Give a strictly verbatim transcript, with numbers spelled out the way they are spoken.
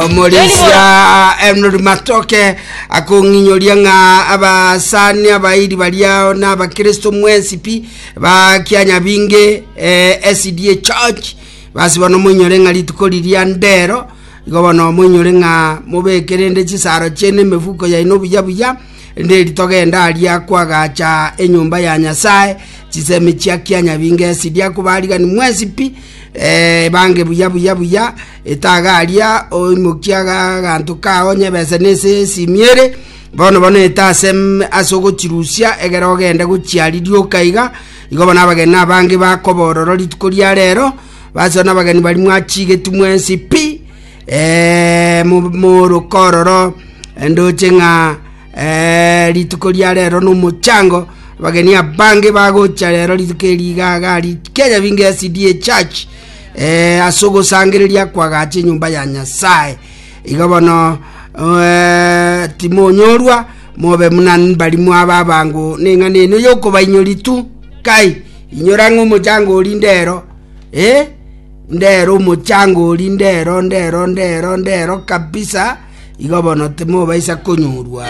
Omorisia Henry Matoke akong'inyoria ng'a abasani abairi baria na abakristo mwensi pi ba Kianyabinge, eh, S D A Church. Basi bono moinyore ng'a rituko riria ndero. Igo bono moinyore ng'a mobeke rende chisaro chiaino, emefuko yaino buya buya, nderi togenda aria kwagacha enyomba ya Nyasaye chisemi chia Kianyabinge S D A. Akubarigani mwensi pi, eh, bange buya buya buya etaga aria oimokia aganto kao nyebese nese esimi ere bono bono eta ase ase ogochirusia egere ogende gochiaririoka iga. Igo bono abageni abange bakobororo rituko ria rero. Basi bono abageni bari mwachigeti mwensi pi, eh, moroka ororo ndoche ng'a eh, rituko ria rero nomochango. Abageni abange bagocha rero rituko eri iga iga Kianyabinge S D A Church, eh, ase ogosangereria kwagacha enyomba ya Nyasaye. Igo bono eh, timonyorwa mobe muna mbari mwaba abango neng'ana eno yokobainyori tu kai. Inyora ng'a omochango ori ndero, eh? Ndero omochango ori ndero ndero ndero ndero kabisa. Igo bono timobaisa konyorwa.